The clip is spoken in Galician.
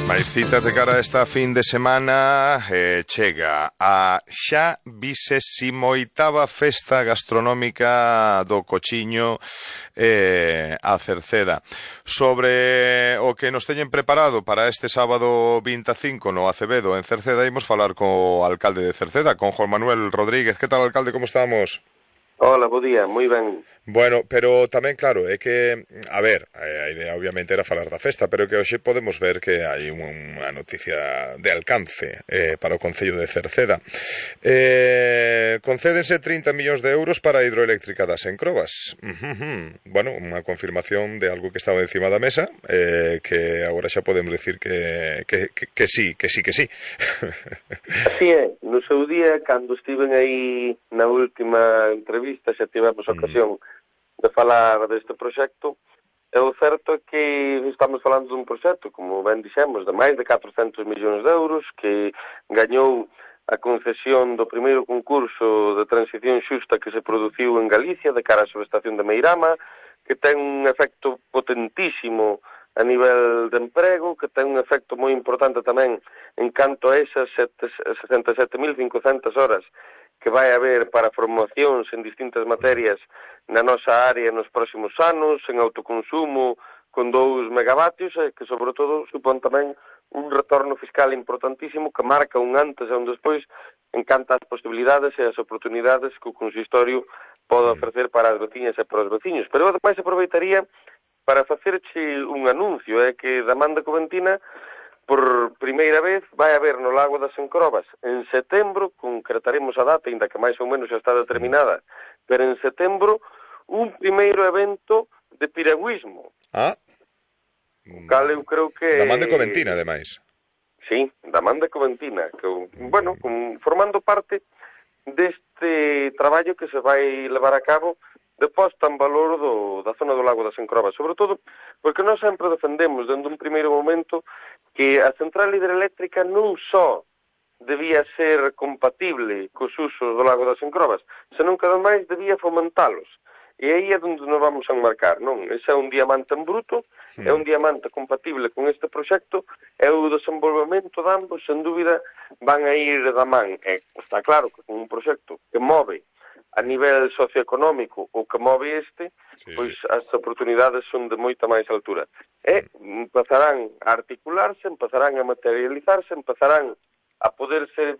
máis citas de cara a esta fin de semana. Chega a xa 28ª festa gastronómica do Cochiño a Cerceda. Sobre o que nos teñen preparado para este sábado 25 no Acevedo en Cerceda, imos falar co alcalde de Cerceda, con Juan Manuel Rodríguez. Que tal, alcalde, como estamos? Hola, bo día, moi ben. Bueno, pero tamén, claro, é que, a ver, a idea obviamente era falar da festa, pero que hoxe podemos ver que hai unha noticia de alcance para o Concello de Cerceda. Concédense 30 millóns de euros para a hidroeléctrica das Encrobas. Bueno, unha confirmación de algo que estaba encima da mesa, que agora xa podemos decir que sí. Así é, no seu día, cando estiven aí na última entrevista, xa tivemos ocasión de falar deste proxecto. É o certo é que estamos falando dun proxecto, como ben dixemos, de máis de 400 millóns de euros, que gañou a concesión do primeiro concurso de transición xusta que se produciu en Galicia, de cara á subestación de Meirama, que ten un efecto potentísimo a nivel de emprego, que ten un efecto moi importante tamén en canto a esas 67.500 horas que vai haber para formacións en distintas materias na nosa área nos próximos anos, en autoconsumo con 2 megavatios, e que sobre todo supón tamén un retorno fiscal importantísimo que marca un antes e un despois en canto ás posibilidades e as oportunidades que o consistorio pode ofrecer para as veciñas e para os veciños. Pero ademais aproveitaría para facerche un anuncio, é que da Man de Coventina, por primeira vez, vai haber no Lago das Encrobas, en setembro, concretaremos a data, ainda que máis ou menos xa está determinada, pero en setembro, un primeiro evento de piragüismo. Cal eu creo que... Da Man de Coventina, ademais. Sí, da Man de Coventina, que, bueno, formando parte deste traballo que se vai levar a cabo de posta en valor da zona do Lago das Encrobas, sobre todo porque nós sempre defendemos, dende un primeiro momento, que a central hidroeléctrica non só debía ser compatible cos usos do Lago das Encrobas, senón que ademais debía fomentalos. E aí é onde nos vamos a enmarcar, non? Ese é un diamante en bruto, é un diamante compatible con este proxecto, e o desenvolvemento de ambos, sen dúbida, van a ir da man. E está claro que con un proxecto que move a nivel socioeconómico o que move este, pois as oportunidades son de moita máis altura. E empezarán a articularse, empezarán a materializarse, empezarán a poder servir